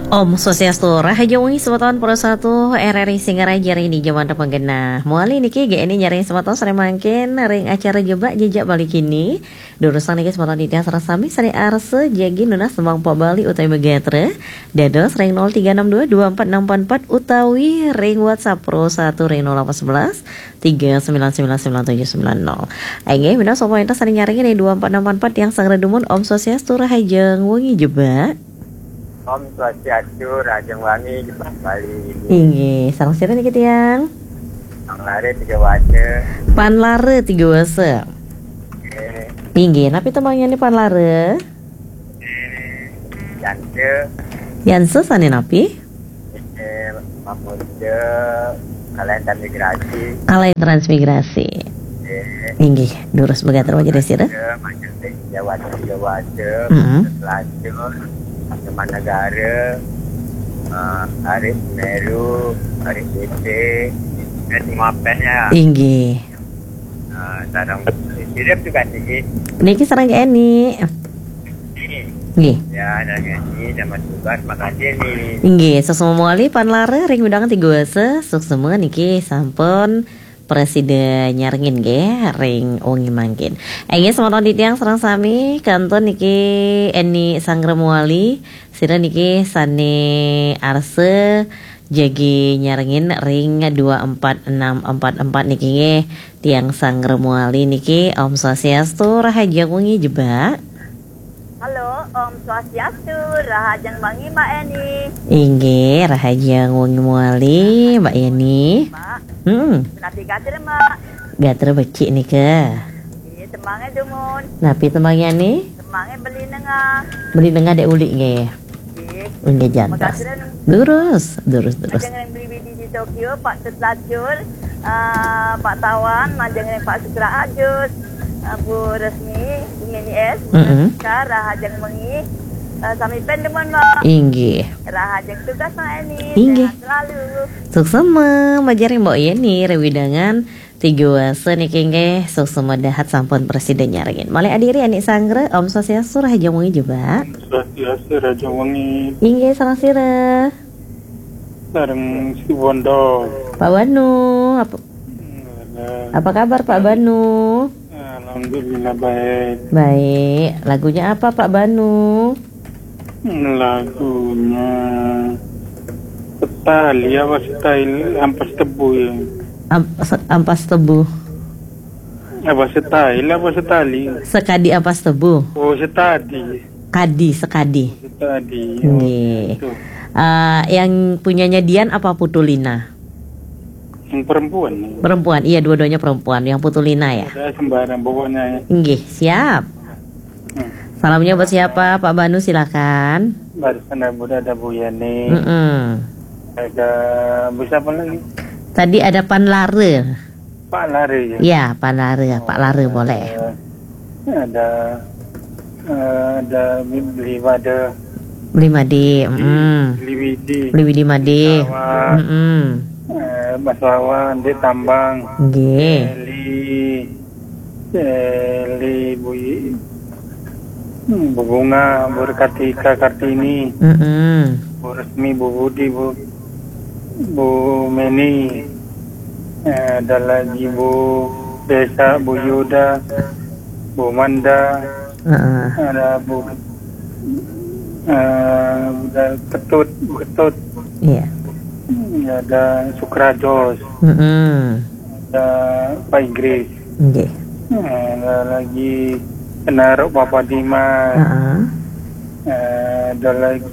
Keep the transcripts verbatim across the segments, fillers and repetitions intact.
Om Swastiastu, Rahaja Wengi semeton Pro satu R R I Singaraja ring dija manten panggenah. Mawali niki G N I nyarengin semeton sareng mangkin ring acara Jebak Jejak Bali kini. Durusang niki semeton titiang sareng sami sareng arsa jagi nunas tembang pop Bali utawi magatra. Dados ring nol tiga enam dua dua empat enam empat empat utawi ring WhatsApp Pro satu ring nol delapan sebelas tiga sembilan sembilan sembilan tujuh sembilan nol. Inggih, minab sampun wénten sané nyarengin ring dua empat enam empat empat tiang sanggra dumun. Om Swastiastu, Rahajeng Wengi Jebak. Om Swastiastu, Rahajeng Wengi Jebak Bali. Inggih, sareng sira niki tiang? Panlare Tiga Wasa. Panlare Tiga Wasa. Nggih. Inggih, napi tembangnyané Panlare? Yansa. Yansa sané napi? Eh, Pamuda, Kalayan Transmigrasi. Kalayan Transmigrasi. Eh, Inggih, durus magatra majeng ring sira. Majeng ring Jawa, Jawa, Mm-mm. Selatan, Taman Negara, eh, Arif Meru, Arif Bete, dan semua band ya. Inggih. Eh, sareng sira juga tinggi. Niki sareng Eni. Nggih. Ya, dan Eni, sama juga, makasih nih. Inggih, suksma mawali Panlare ring wewidangan Tiga Wasa, suksma niki sampun prasida nyarengin nggih ring wengi mangkin. Inggih, semeton titiang sareng sami, kantun niki Eni Sanggra Mawali, sira niki sané arsa jagi nyarengin ring dua empat enam empat empat niki nggih, tiang Sanggra Mawali niki. Om Swastiastu, Rahajeng Wengi Jebak. Halo, Om Swastiastu, Rahajeng Wengi Mbak Eni. Inggih, Rahajeng Wengi Mawali, Mbak Eni. Mbak, Hmm, napi gatra, Mbak? Gatra becik nika. Nggih, tembangé dumun. Napi tembangnyané? Tembangé Beli Nengah. Beli Nengah Dék Ulik nggih. Nggih. Inggih, jantos. Makasih, Ren. Durus, durus, durus. Majeng ring Beli Widi di Tokyo, Pak Tut Lacur, eh, Pak Tawan, majeng ring Pak Sutra Ajus, eh, Bu Resmi, Bu Meni S, Bu Mm-mm. Rizka, Rahajeng Wengi, eh, sami band dumun, Mbak. Inggih. Rahajeng tugas, Mbak Eni. Inggih. Sehat selalu. Suksma, majeng ring Mbok Yeni, ring wewidangan Tiga Wasa niki nggih, suksma dahat sampun prasida nyarengin. Malih adiri anak sanggra, Om Swastiastu, Rahajeng Wengi Jebak. Swastiastu, Rahajeng Wengi. Inggih, sareng sira. Sareng Situbondo. Pak Banu, apa, Halo. Apa kabar Pak Banu? Alhamdulillah baik. Baik, lagunya apa Pak Banu? Lagunya Setali apa Setali, Ampas Tebu ya. Am-, se-, Ampas Tebu. Apa Setali apa Setali? Sekadi Ampas Tebu. Oh, Setadi. Kadi, Sekadi. Setadi. Oh, nggih. Itu. Eh, yang punyanya Dian apa Putulina? Yang perempuan. Perempuan, iya, dua-duanya perempuan. Yang Putulina ya? Saya sembarang pokoknya. Nggih, siap. Hmm. Salamnya buat siapa, Pak Banu, silakan. Barusan ada Buda, ada Bu Yani. Mm-mm. Ada Bu siapa lagi? Tadi ada Panlare. Pak Lare ya? Ya, Panlare, Pak Lare boleh. Ada, eh, ada Beli Wada. Beli Made, mm. Beli Widi. Beli Widi Made. Sawa. Mm-mm. Eh, Mas Wawan, Dek Tambang. Nggih. Eli, Eli Buyi. Hmm, Bu Bunga, Bu Kartika Kartini, Mm-mm. Bu Resmi, Bu Budi, Bu, Bu Meni, eh, ada lagi Bu Desa, Bu Yuda, Bu Manda, Heeh. ada Bu, eh, ada Ketut, Bu Ketut, Iya. hmm, ada Sukrajos, Mm-mm. ada Pak Inggris. Nggih. Nah, ada lagi Kenaruk Papa Dimas. Heeh. Eh, ada lagi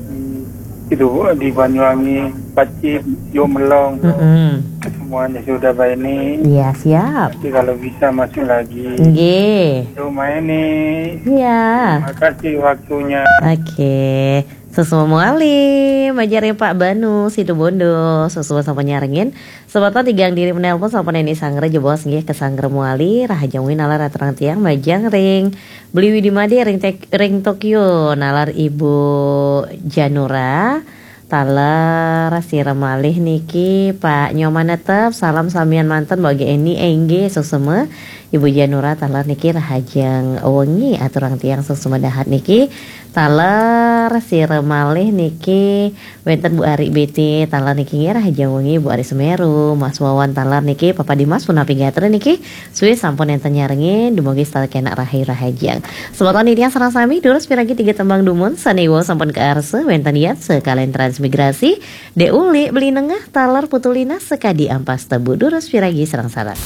itu di Banyuwangi, Pacip, Yuk Melong. Mm-mm. Semuanya sudah baik ini. Iya, siap. Nanti kalau bisa masuk lagi. Nggih. Itu main nih. Iya. Terima kasih waktunya. Oke. Suksma mawali, majeng ring Pak Banu, Situbondo, suksma sampun nyarengin. Semeton tigang diri menelpon sampun Eni Sanggra jebos nggih, ke Sanggra mawali, Rahajeng Wengi nalar aturang tiang majeng ring Beli Widi Made ring Tek-, ring Tokyo, nalar Ibu Janura, taler sira malih niki Pak Nyoman Netep, salam samian manten Mbok Eni, eh, nggih, suksma. Ibu Janura taler niki rahajeng wengi aturang tiang sesumadahat niki. Taler sira malih niki wenten Bu Ari B T, taler niki nggih rahajeng wengi Bu Ari Semeru, Mas Wawan taler niki, Papa Dimas punapi gatra niki, suwi sampun enten nyarengin, dumugi setata kena rahayu rahajeng. Semeton titiang sareng sami, durus piragi tiga tembang dumun, sane wau sampun kaarsa, wenten Yatsa kalian Transmigrasi, Dek Uli Beli Nengah, taler Putu Lina sakadi ampas tebu, durus piragi sareng-sareng.